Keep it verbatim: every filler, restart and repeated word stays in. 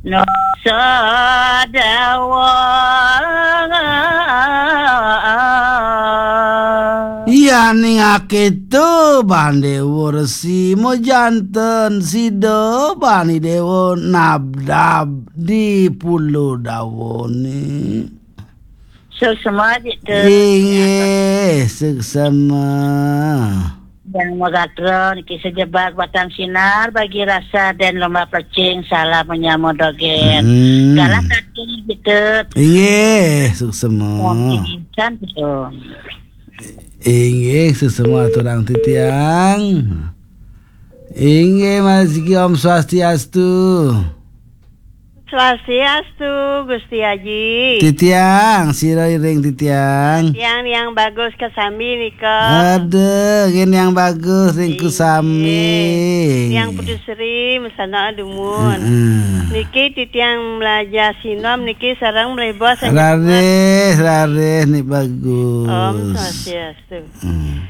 Nusa Dawa. Iya, ning akéto ban Déwa Resi, majanten sida bani Déwa Nabdab di Pulo Dawané. Suksma, Cik, tu. Inggih, suksma. Yang magatra niki sajebag batang sinar bagi rasa dan lomba plecing salah menyama dogen. Hmm. Galah kaki gitu. Inggih, suksma. Yang insan gitu. Inggih, suksma aturang titiang. Inggih, Mas Ki, Om Swastiastu. Swastiastu, Gusti Aji. Titiang, sira iring titiang. Tiang yang bagus kasami nika. Aduh, gin yang bagus ringku sami. Tiang Putu Sri, mesana dumun. Heeh. Niki titiang melajah sinom niki sareng melih bos. Raris, raris, ni bagus. Om Swastiastu. Hmm.